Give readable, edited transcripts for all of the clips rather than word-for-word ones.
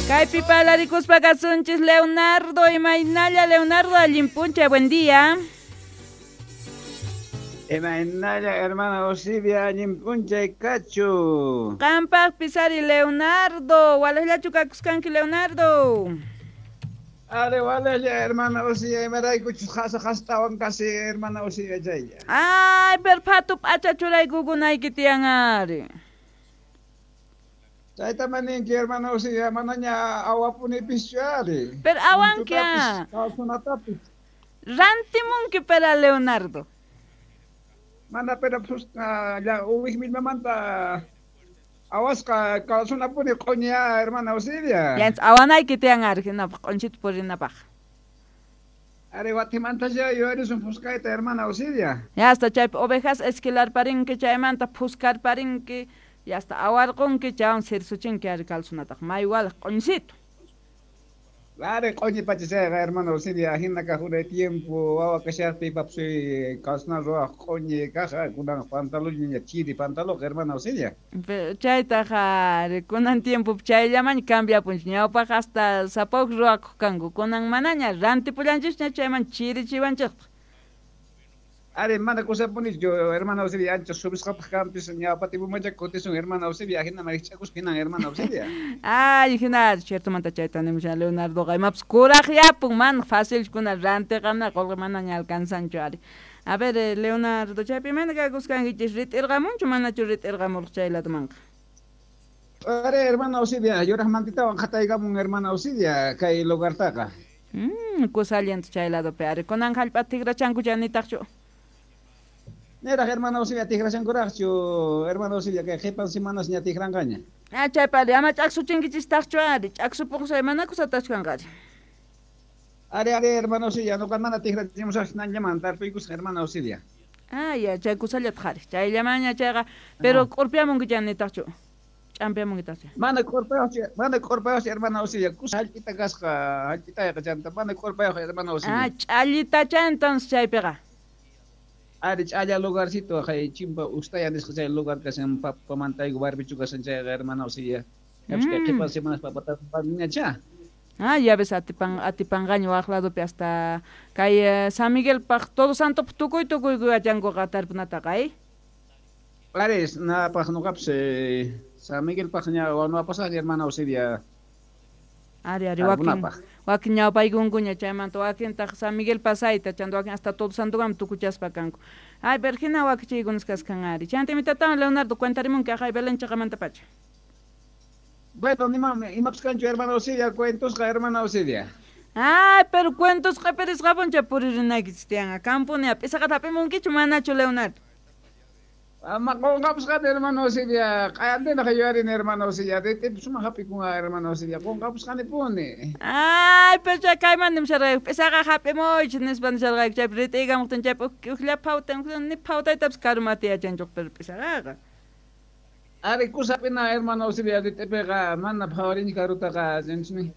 Kaypi parlarikuspa kasunchis Leonardo, imaynalla Leonardo, allin p'unchay, buen día. Imaynalla hermana Osibia, allin p'unchay kachu. Qampaqpis ari Leonardo, walejllachu kakuskanki Leonardo. Ari walejlla hermana Osibia, imaraykuchus qhasa qhastawan kasi hermana Osibia chaylla. Ay, pero phatu p'acha churaykukunayki tiyan ari. Chayta maninki hermana Osibia, manaña awapunipischu ari. Pero awanki ah. Calzonatapis. Rantimunki pera Leonardo. Mana pero uwij millmamanta awasqa calzonapuni q'uña hermana Osibia. Ya awanayki tiyan ari hinapaq q'unchita purinapaq. Ari watimanta ya yuyarisun phuskayta hermana Osibia. Ya hasta chaypi ovejas esquilarparinki chaymanta phuskarparinki, ya hasta awarqunki chaywan sirsuchinki ari calzonataqa may walej q'uñisito. Ari q'uñi pacha chayqa hermana Osibia, hina kaq unay tiempo wawa kashaqtiy papasuy calzona ruwaq q'uñi kaq kunan pantalonña chiri pantalón hermana Osibia. Chaytaqa ari kunan tiempo chayllamaña cambiapunchik, ñawpaq hasta sapawq ruwakuq kanku, kunan manaña rantipullanchikña chayman chirichiwanchiktaq. Ari mana kusapunichu hermana Osibia, ancha subisqapaq kanpis ñawpa tiempomancha kutisun hermana Osibia, hina marich'akuspa hinan hermana Osibia. Ay, hina ciertomanta chayta nimushan Leonardoqa, imapas kuraqyapun, mana fácil kuna rantiqamna qolqe manaña alcanzanchu ari. A ver, Leonardo, chaypi imayna kakuskankichis, rit'irqamunchu manachu rit'irqamurqa chay ladomanqa? Ari hermana Osibia, yuraq mantitawan qhataykamun hermana Osibia kay lugartaqa. Kusallanta chay ladopi ari, kunan hallp'ata tikrachanku chanitaqchu. Niraq hermana Osibia tikrashankuraqchu, hermana Osibia kay qhipan semanas ña tikranqaña. Ah, chaypi ari, ama ch'aksuchinkichistaqchu ari, ch'aksupuqsay mana kusatachu kanqa ari. Ari, ari, hermana Osibia, nuqa mana tikrachimusaqchu nanllaman tarpuykusaq hermana Osibia. Ah, ya, chay kusallataq ari, chayllamaña chayqa, pero k'urpiamunki chanitaqchu, ch'ampiamunkitaqchu. Mana k'urpayuqchu hermana Osibia, kusa hallp'ita kasqa, hallp'itayqa chanta, mana k'urpayuq hermana Osibia. Ah, ch'allitacha entonces chaypiqa. Ari ch'alla lugarcito kay chimpa ustaya nisqa chay lugar kashan papamantayku barbichu kashan chayqa hermana Osibia. Kay qhipan semanas papata cha. Ah, ya ves atipanqaña waq ladopi hasta kay San Miguelpaq Todo Santopaq tukuy tukuy yachankuqa tarpunataqa, ay. Ari napaq nuqapis San Miguelpaq ña wanuapasaq hermana Osibia. Ari ari wakin ñawpaykunkuña chaymanta wakintaq San Miguel pasayta chanta wakin hasta Todo Santokama tukuchaspa kanku. Ay, pero hina wakichiykunas kaskan ari. Chanta imitatawan Leonardo cuentarimunki aqhay Belén chaqamanta pacha. Bueno, imapas kanchu hermana Osibia, cuentosqa hermana Osibia. Ay, pero cuentosqa pirisqapuncha puririnaykichis tiyanqa. Kampunia p'isaqata hap'imunkichu manachu Leonardo? Ama qunqapusqani hermana Osibia, q'ayantinaq yuyarini hermana Osibia, rit'ipi sumaq hap'ikunqa hermana Osibia, qunqapusqanipuni. Ay, pero chay kayman nimusharqayku, p'isaqa hap'imuychis nispa nisharqayku, chaypi rit'iykamuqtin chaypi ujlla phawtan, ni phawtaytapas karumata yachanchuq pero p'isaqaqa. Ari kusa hap'ina hermana Osibia, rit'ipiqa mana phawarinchu karutaqa, chanchuni.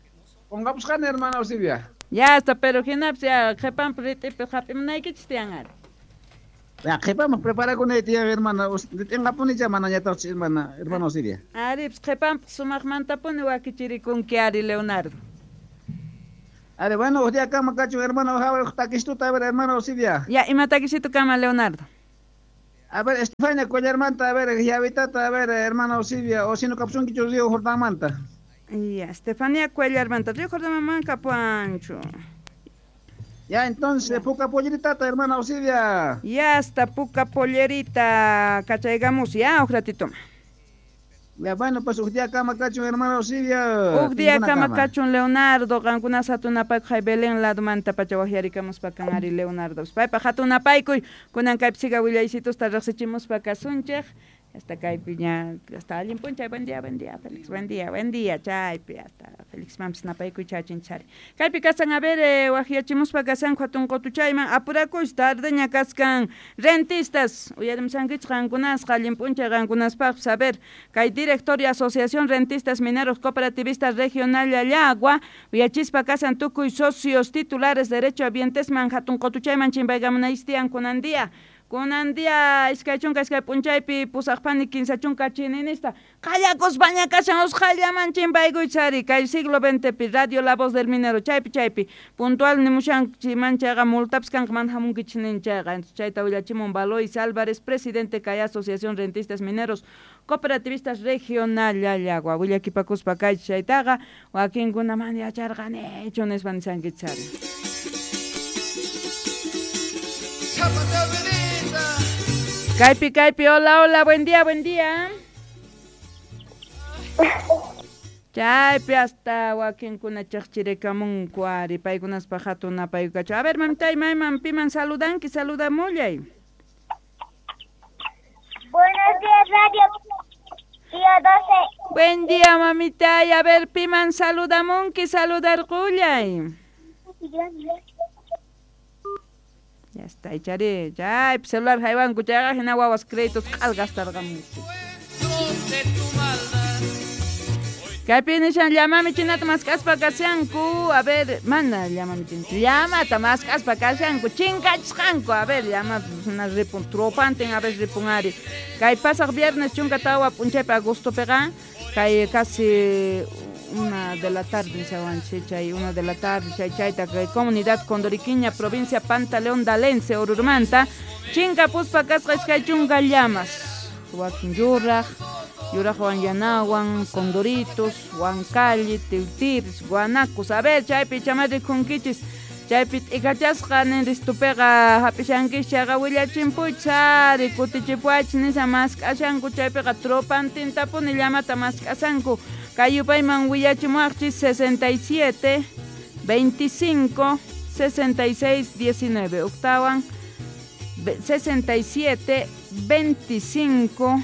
Qunqapusqani hermana Osibia. Ya hasta, pero hinapis ya qhipanpi rit'ipi hap'imunaykichis tiyan ari. Ya, qhipanpaq preparakunay tiyan hermana, rit'inqapunicha manañataqchu hermana Osibia. Ari, pues qhipanpaq sumaqmantapuni wakichirikunki ari Leonardo. Ari, bueno, uj día kama kachun hermano, uj takistuta, a ver, hermana Osibia. Ya, ima takisito kama Leonardo. A ver, Estefania Collarmanta, a ver, Yavitata, a ver, hermana Osibia, o si no kapsunkichu Río Jordanmanta. Ya, Estefania Cuellarmanta, Río Jordanman kapuanchu. Ya, entonces, Puca Pollerita, hermana Osibia. Ya está, Puca Pollerita, cachaygamus, ya, un ratito. Ya, bueno, pues, uj día kama kachun, hermana Osibia. Uj día kama kachun, Leonardo, qankunas hatunapayku hay Belén ladomanta pacha waqyarikamuspa kan ari Leonardo. Paypa hatunapaykuy, kunan kaypi siga willaycitusta riqsichimuspa kasunchik. Hasta kaypi ña, hasta allin p'unchay, buen día, Félix, buen día, chaypi, hasta Félix mampis napaykuy chachinchari. Kaypi kasan, a ver, waqyachimuspa kasanku hatun qutuchayman, apurakuy, tardeña kaskan, rentistas, uyarimsankichik qankunasqa, allin p'unchay qankunaspaqpis, a ver, kay directorio Asociación Rentistas Mineros Cooperativistas Regional Llallagua, uyachispa kasan tukuy socios titulares derecho habientesman hatun qutuchayman chimpaykamunaystian kunan día. Kunan día 22 p'unchaypi 8 30 chininista qallakuspaña kashan usqhayllaman chimpaykuychari kay siglo XXpi Radio La Voz del Minero chaypi chaypi puntual nimushanchiman chayqa multapis kanqa mana hamunkichis nin chayqa. Chayta willachimun Valois Álvarez, presidente kay Asociación Rentistas Mineros Cooperativistas Regional Llallagua. Willakipakuspa kay chaytaqa wakinkuna mana yacharqanichu nispa nishankichari. Kaypi, kaypi, hola, hola, buen día, buen día. Chaypi hasta wakinkuna chiqchirikamunku ari paykunaspa hatun napaykukachu. A ver, mamitay, mayman piman saludanki, saludamullay. Buenos días, Radio Pío 12. Buen día, mamitay. A ver, piman saludamunki, saludarqullay. Ya está, echari, ya, celular haywanku chayqa hina wawas créditos q'al gastarqamunku. Kaypi nishan llamami chinata mask'aspa kashanku, a ver, mana llamami chinata, llamata mask'aspa kashanku, chinkachisqanku, a ver, llama na ripun, tropantin a ver ripun ari. Kay pasaq viernes 14 p'unchaypi agostopiqa, kay casi 1 de la tarde nishawanchik, chay 1 de la tarde, chay chayta kay comunidad Condoriquiña, provincia Pantaleón Dalense, Orurmanta, chinkapuspa kasqa 20 llamas, wakin yuraq, yuraqwan yanawan, condoritos, huancalli, tiwtiris, guanacos. A ver, chaypi chamari kunkichis, chaypi t'ikachasqa ninristupiqa hap'ishankis chayqa willachinpuychis ari kutichipuwachis nisha mask'ashanku chaypiqa tropantintapuni llamata mask'ashanku. Kay yupayman willachimuwaqchis 67 25 66 19 octawan 67 25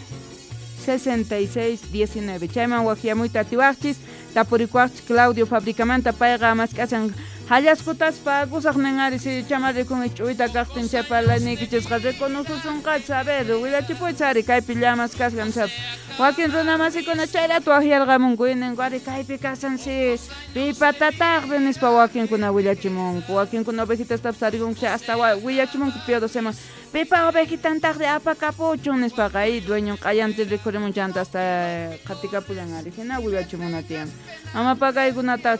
66 19 chayman waqyamuyta atiwaqchis tapurikuwaqchis Claudio Fabricamanta payqa mask'ashan hallaskutaspa kusaq nin ari si chamarikun ch'uyta kaqtin chaypalanikichisqa reconosusunqachis. A ver, willachipuychis ari kaypi llamas kashan nispa. Wakin runamasikuna chayratu waqyarqamunku ninku ari kaypi kashan si pipatataqri nispa wakinkuna willachimunku wakinkuna ovejitastapis tarikunku chay hasta willachimunku Pío 12man pipa ovejitantaqri apakapuchun nispaqa ahí dueño q'ayantin rikhurimun chanta hasta qatikapullan ari hina willachimuna tiyan. Ama pakaykunata